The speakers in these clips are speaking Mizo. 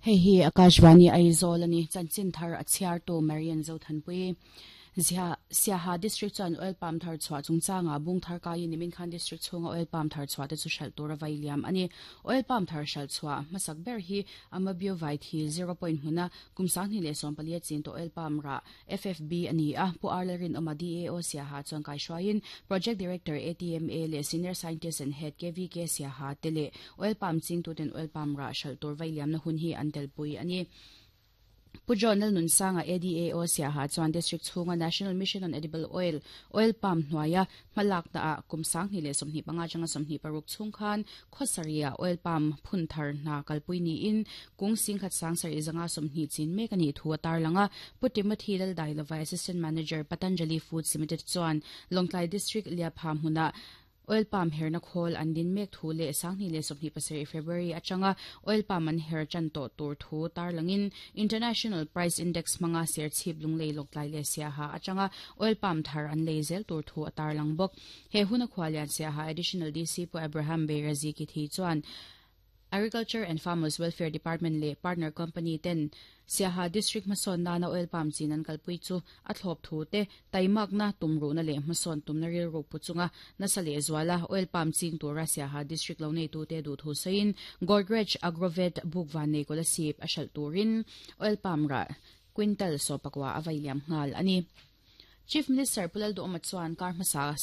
Hei hi Akashvani Aizawl a ni. Chanchin thar a chhiartu Marian Zothanpui. Zia, Siaha District chuan oil palm thar chhuah chungchangah bung thar kaiin nimin khan District chhunga oil palm thar chhuah te chu hralh tur a vai liam a ni. Oil palm thar hralh chhuah hmasak ber hi Amabio Vaithi zero point hmuna kum 2014 a chin tawh oil palm rah FFB a ni a. Pu Arla Rinawma DAO Siaha chuan kaihruaiin Project Director ATMA leh Senior Scientist and Head KVK Siaha te leh Oil palm chingtuten oil palm rah hralh tur vai liamna hun hi an telpui a ni. Pu John Lalnunsanga ADAO Siaha chuan District chhunga National Mission on Edible Oil, Oil Palm hnuaia hmalakna ah kum 2025 atanga 26 chhung khan khawsarih-ah oil palm phun thar hna kalpui niin kung singkhat sangsarih zanga 20 chin mek a nih thu a tarlang a. Pu Timothy Laldailova Assistant Manager Patanjali Foods Limited chuan Lawngtlai District Liapha hmunah Oil palm herna khawl an din mek thu leh 2027 February atanga oil palm an her tan tawh tur thu tarlangin International Price Index hmanga Serchhip Lunglei Lawktlai leh Siaha atanga oil palm thar an lei zel tur thu a tarlang bawk. He huna khualian Siaha Additional DC Pu Abraham Beirazi Kithi chuan Agriculture and Farmers Welfare Department leh partner company ten Siaha District hmasawn nana oil palm chin an kalpui chu a thlawp thu te, taimakna, tumruhna leh hmasawn tumna rilru pu chunga nasa leh zuala oil palm ching tura Siaha District lo neitute duh thu sawiin Godrej Agrovet buk van nei Kolasib a hralh turin oil palm rah quintal sawpakua a vai liam nghal a ni. Chief Minister Pu Lalduhawma chuan kar hmasa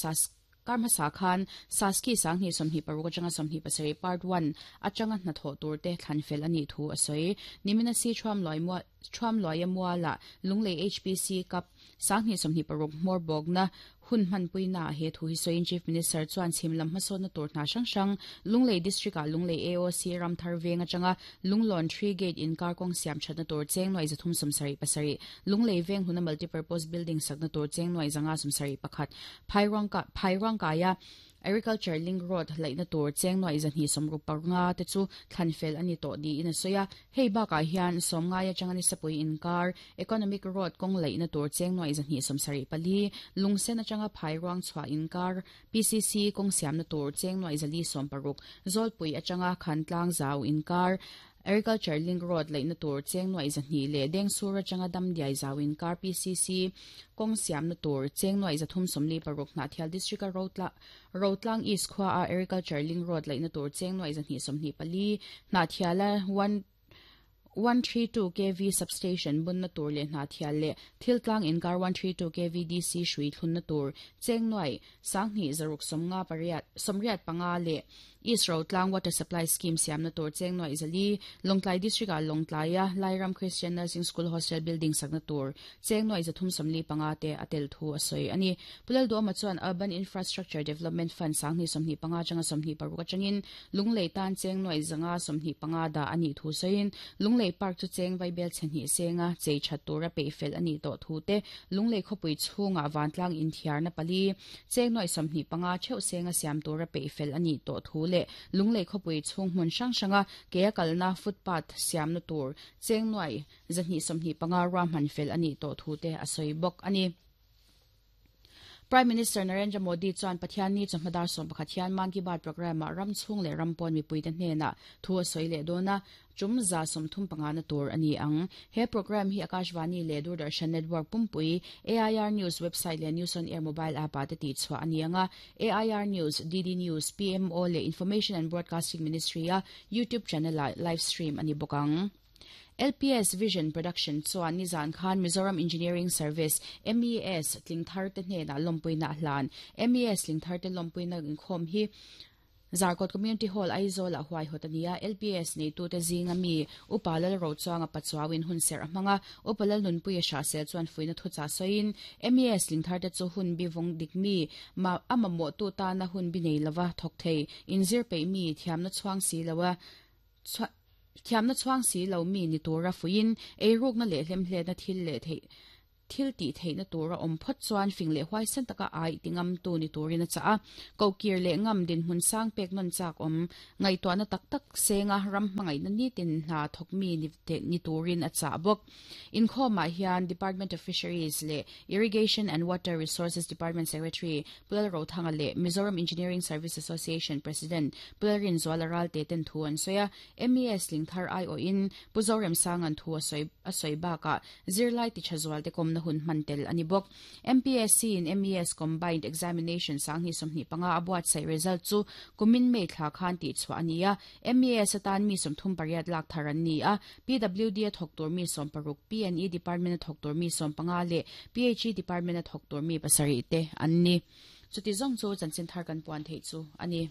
Kar hmasa khan Saski 2026 atanga 27 Part One atanga hnathawh turte thlan fel a nih thu a sawi. Nimina si Thuamluaia Mualah Lunglei HPC Cup 2026 hmawr bawkna hun hmanpuinaah he thu hi sawiin Chief Minister chuan chhim lam hmasawnna tur hna hrang hrang Lunglei District-ah Lunglei AOC Ramthar Veng atanga Lunglawn Tree Gate inkar kawng siam thatna tur cheng nuai 377 Lunglei Veng hluna Multipurpose Building sakna tur cheng nuai 571 Phairuangkaia Agriculture Link Road laihna tur cheng nuai 265 te chu thlan fel a ni tawh niin a sawi a. Hei bakah hian Sawmngai atanga Nisapui inkar Economic Road kawng laihna tur cheng nuai 274, Lungsen atanga Phairuang chhuah inkar PCC kawng siamna tur cheng nuai 460, Zawlpui atanga Khantlang zau inkar Agriculture Link Road laihna tur cheng nuai 200 leh Dengsur atanga Damdiai zau inkar PCC kawng siamna tur cheng nuai 346 Hnahthial District-a Rotlang East khuaa Agriculture Link Road laihna tur cheng nuai 224, Hnahthiala one 132 kv Substation bunna tur leh Hnahthial leh Thiltlang inkar 132 kv DC hrui thlunna tur cheng nuai 2685 leh East Rotlang Water Supply Scheme siamna tur cheng nuai 400, Lawngtlai District-ah Lawngtlaia Lairam Christian Nursing School Hostel Building sakna tur cheng nuai 345 te a tel thu a sawi a ni. Pu Lalduhawma chuan Urban Infrastructure Development Fund 2025 atanga 26 atangin Lunglei tan cheng nuai 125 dah a nih thu sawiin Lunglei Park chu cheng vaibel chhe hnih senga chei that tura peih fel a nih tawh thu te, Lunglei khawpui chhungah vantlang inthiarna pali cheng nuai 25 theuh senga siam tura peih fel a nih tawh thu leh Lunglei khawpui chhung hmun hrang hranga ke a kalna footpath siamna tur cheng nuai 225 ruahman fel a nih tawh thu te a sawi bawk a ni. Prime Minister Narendra Modi chuan Pathianni chawhma dar 11 hian Mann Ki Baat programme-ah ram chhung leh ram pawn mipuite hnenah thu a sawi leh dawn a, tum 35 na tur a ni ang. He programme hi Akashvani leh Doordarshan Network pumpui, AIR News website leh News on Air mobile app-ah te tihchhuah a ni ang a. AIR News, DD News, PMO leh Information and Broadcasting Ministry-a YouTube channel-ah live stream a ni bawk ang. LPS Vision Production chuan nizan khan Mizoram Engineering Service, MES, tling thar te hnenah lawmpuina a hlan. MES tling thar te lawmpuina inkhawm hi Zarkawt Community Hall, Aizawl-ah huaihawt a ni a. LPS neitute zinga mi Upa Lalrochuanga Pachuauin hun serh a hmang a. Upa Lalnunpuia Hrahsel chuan fuihna thuchah sawiin, MES tling thar te chu hun bi vawng dik mi, ma a mamawhtu tana hun bi nei lova thawk thei, inzir peih mi, thiamna chhuang si loa Thiamna chhuang si lo mi ni tura fuiin eirukna leh hlemhletna thil leh theih. Thil tih theihna tur a awm phawt chuan fing leh huaisen taka ai ti ngamtu ni turin a chah a. Kohkir leh ngam dinhmun sang pek nawn chak awm ngaihtuahna tak tak senga ram hmangaihna nitin hna thawk mi ni turin a chah bawk. Inkhawmah hian Department of Fisheries leh Irrigation and Water Resources Department Secretary Pu Lalrothanga leh Mizoram Engineering Service Association President Pu Lalrinzuala Ralte ten thu an sawi a. MES Lingthar aiawhin Pu Zoremsanga'n thu a sawi a sawi bakah Zirlai ti tha zualte kawmna hun hman tel a ni bawk. MPSC in MES Combined Examination 2025 a buatsaih result chu kumin May thla khan tihchhuah a ni a. MES atan mi 38 lak thar an ni a, PWD a thawk tur mi 16, PNE Department a thawk tur mi 15 leh PHE Department a thawk tur mi pasarih te an ni. Chuti zawng chu chanchin thar kan puan theih chu a ni.